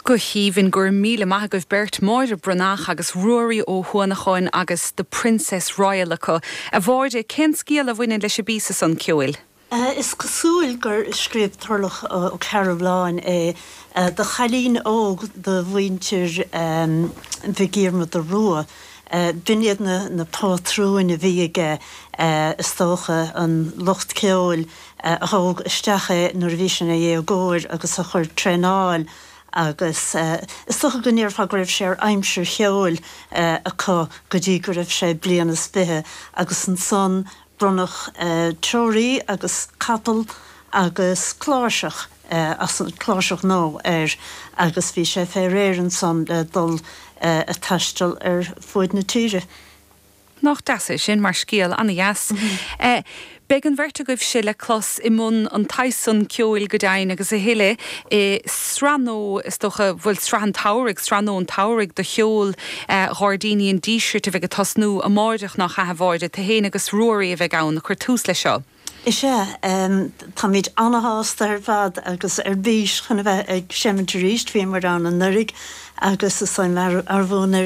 Go haoibhinn, go raibh míle maith agaibh beirt, Máire Breathnach agus Ruairí Ó hUanacháin agus The Princess Royal acu. A Mháire, cén scéal a bhaineann leis an bpíosa san ceoil? Is cosúil gur scríobh Turlough Ó Cearbhalláin é do chailín óg de mhuintir Mhic Dhiarmada Rua. B'in iad na pátrúin a bhí aige, is dócha, an lucht ceoil a thóg isteach é nuair a bhí sé ina dhéagóir agus a chuir traenáil agus is dócha go ndéarfá go raibh sé ar aimsir cheoil acu go dtí go raibh sé bliain is fiche agus ansan Bronnadh treoraí agus capall agus cláirseach as an cláirseach nua air agus bhí sé fé réir ansan le dul a' taisteal ar fuaid na tíre. Nach deas é sin mar scéal, ana-dheas. Beidh an bheirt agaibhse le clos i mbun an tsaghas san ceoil go deimhin agus a thuilleadh i sraith nua, is dócha, bhuel sraith an tsamhraidh, sraith nua an tsamhraidh de cheol Ghairdíní an Dísirt a bheidh ag tosnú amáireach, nach ea a Mháire? Tú fhéin agus Ruairí a bheidh ann ag cur tús leis seo. Is ea, táimid ana-shásta ar fad agus ar bís chun a bheith ag seimint arís. Bhíomar ann anuraidh agus is dóigh liom arbhú anuraidh.